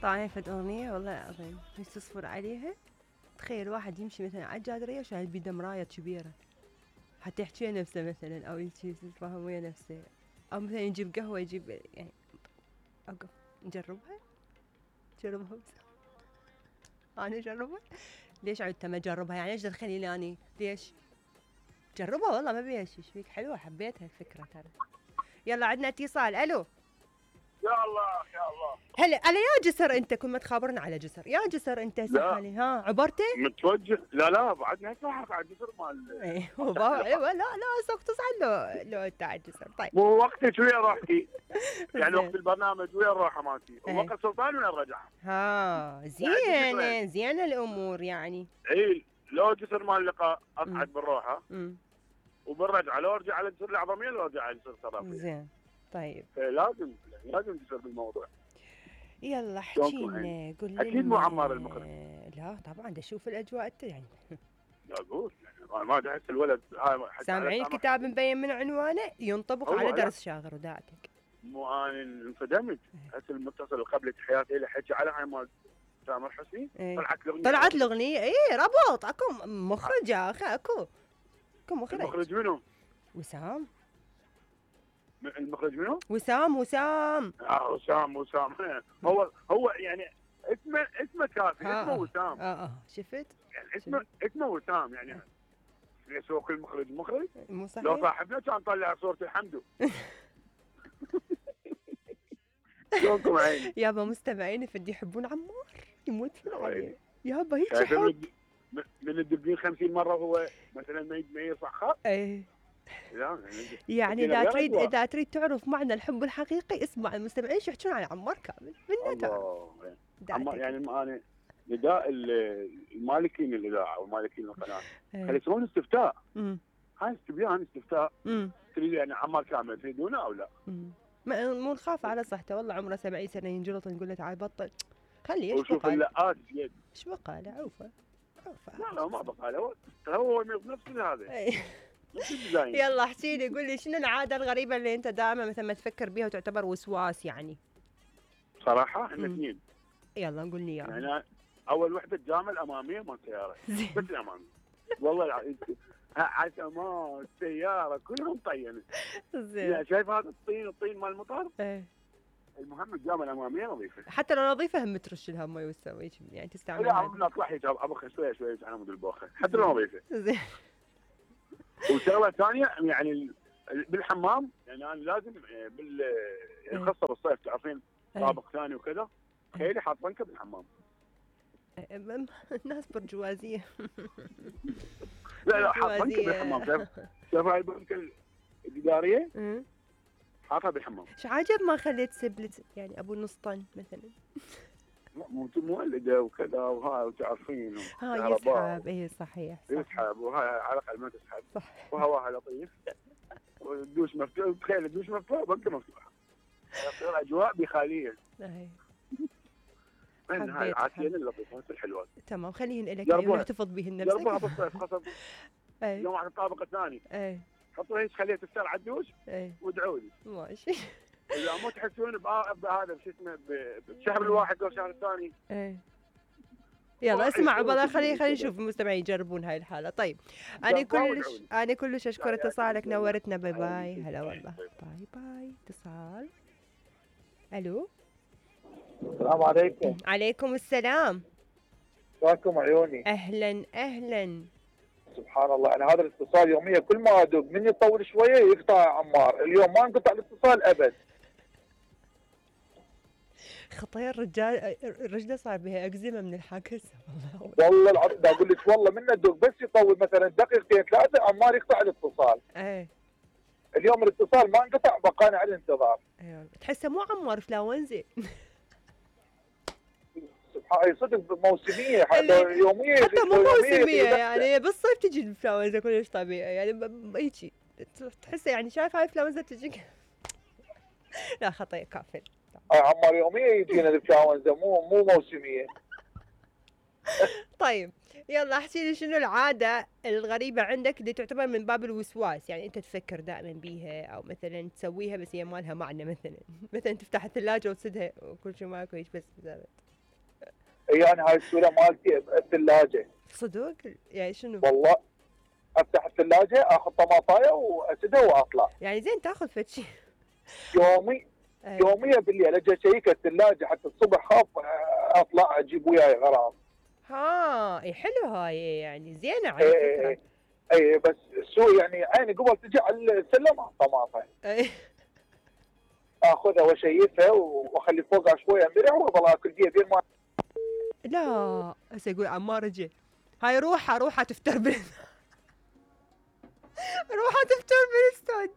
طالعين فد اغنيه والله العظيم هي تصفر عليها. تخيل واحد يمشي مثلا على الجادريه وشايل بيده مرايه كبيره حتى يحكي نفسه مثلا او يتفاهم ويا نفسه، او مثلا يجيب قهوه يجيب يعني اوقف نجربها بس انا اجربها. ليش عدت ما اجربها يعني؟ ايش دخلني اني ليش جربها؟ والله ما بيها شيء. فيك حلوه حبيتها الفكره ترى. يلا عندنا اتصال. الو يا الله يا الله. هلا على يا جسر انت كل ما تخابرنا على جسر يا جسر انت سحالي ها عبرتي؟ متوجه لا بعدنا نتلاحق على الجسر مال ايوه لا سوق تصعد لو انت على الجسر. طيب مو وقتك وين روحتي؟ يعني وقت البرنامج وين روحه مالتي؟ وقت سلطان وين رجع؟ ها زينه الامور يعني. اي لو جسر مال اللقاء اصعد بالروحه وبالرجعه لو ارجع على جسر العظميه لو ارجع على جسر صرافيه. زين طيب لازم جسر بالموضوع. يلا احكينا قول لنا. اكيد مو عمار المخرج. لا طبعا دا اشوف الاجواء يعني. لا اقول يعني ما احس الولد سامعين الكتاب مبين من عنوانه ينطبق على درس شاغر وداعتك. مو انا انصدمت. هسه المتصل اللي قبل تحياتي له حكي على هاي مال تامر حسني. طلعت الاغنيه اي ربط اكو مخرج يا اخي اكو مخرج. المخرج منو؟ وسام. المخرج منو؟ وسام. وسام هو يعني اسمه كافي. اسمه وسام. شفت يعني اسمه وسام يعني. ليش هو كل مخرج مو صحيح؟ لو صاحبنا كان طلع صورة الحمدو. شلونكم عيني؟ يابا مستمعين فدي يحبون عمار يموتون عليه يابا هيك حب من الدبلين 50 مرة هو مثلا ما يصح خط. ايه يعني اذا تريد تعرف معنى الحب الحقيقي اسمع المستمعين شو يحكون عن عمار كامل من عمار. يعني انا نداء المالكين الاذاعه ومالكين القناه خلي يسوون استفتاء. هاي استفتاء تريد يعني عمار كامل تريدونه او لا؟ مو نخاف على صحته والله عمره 70 سنه ينجلط نقول له تعال بطل خليه وشوف اللقات ايش بقى له عوفه لا ما بقى له هو نفسه هذا. يلا احكي لي قول لي شنو العاده الغريبه اللي انت دائما مثلا ما تفكر بيها وتعتبر وسواس يعني؟ صراحه احنا اثنين. يلا قول لي يعني اول وحده الجامعه الاماميه مال السياره بس الاماميه والله العظيم عتمات السياره كلهم طينه. زين يعني شايف هذا الطين مال المطار؟ ايه المهم الجامعه الاماميه نظيفه حتى لو نظيفه هم ترش لها مي وتسوي يعني تستعمل. لا اطلع حيك ابخ شويه على مود البوخه حتى لو نظيفه. زين وشغله ثانيه يعني بالحمام يعني انا لازم يعني خاصه بالصيف تعرفين طابق ثاني وكذا. تخيلي حاط بنكه بالحمام. الناس برجوازيه. لا حاط بنكه بالحمام. شايف هاي البنكه الاداريه حاطها بالحمام. شو عجب ما خليت سبلت يعني ابو نص طن مثلا؟ مو مولده وكذا وهاي وتعرفين يسحب. اي صحيح يسحب وهاي على الاقل ما تسحب. صح وهواها لطيف والدوش مفتوح. تخيل الدوش مفتوح بنكه مفتوحه تصير اجواء بخاليه. من هاي العاتيين اللطيفات الحلوات. تمام خليهن لك ونحتفظ بهن نفسك. جربوها بالصيف خاصه يوم على الطابق الثاني. حطوا هيك خليها تستر على الدوش وادعوا لي. ماشي. اذا مو تحسون بهذا شو اسمه بالشهر الواحد او الشهر الثاني. يلا اسمع والله خلي نشوف المستمعين يجربون هاي الحاله. طيب انا كلش اشكر اتصالك نورتنا. باي باي. هلا والله باي. اتصال. الو السلام عليكم. عليكم السلام. شلونكم عيوني؟ اهلا. سبحان الله انا هذا الاتصال يوميا كل ما ادق من يطول شويه يقطع عمار. اليوم ما انقطع الاتصال ابد. خطير الرجله صار بها اكزيما من الحاكسه والله العظيم دا اقول لك والله من ادق بس يطول مثلا دقيقتين ثلاثه عمار يقطع الاتصال. اليوم الاتصال ما انقطع بقانا على الانتظار. ايوه تحسه مو عمار فلاونزي. سبحان صدق موسميه حتى يوميه. حتى مو موسميه يعني بالصيف تجي الانفلونزا كلش طبيعي يعني هيجي تحسه يعني شايف هاي الانفلونزا تجيك. لا خطير كافل. عمار يوميه يجينا الانفلونزا مو موسميه. طيب يلا احكي لي شنو العاده الغريبه عندك اللي تعتبر من باب الوسواس يعني انت تفكر دائما بيها او مثلا تسويها بس هي ما لها معنى مثلا تفتح الثلاجه وتسدها وكل شيء ماكو هيك بس. اي انا هاي السؤال مالتي الثلاجه. صدق؟ يعني شنو؟ والله افتح الثلاجه اخذ طماطايه واسدها واطلع. يعني زين تاخذ فد شيء يوميا بالليل اجي اشيك الثلاجه حتى الصبح خاف اطلع اجيب وياي غراض. اي حلو هاي، يعني زينه على فكره. اي بس السوق يعني عيني قبل تجي على السلم طماطه. اخذها واشيفها واخلي فوقها شويه مرع واظل اكل فيها بين ما. لا هسه يقول عمار اجى، هاي روحها تفتر روحها تفتر بالاستوديو.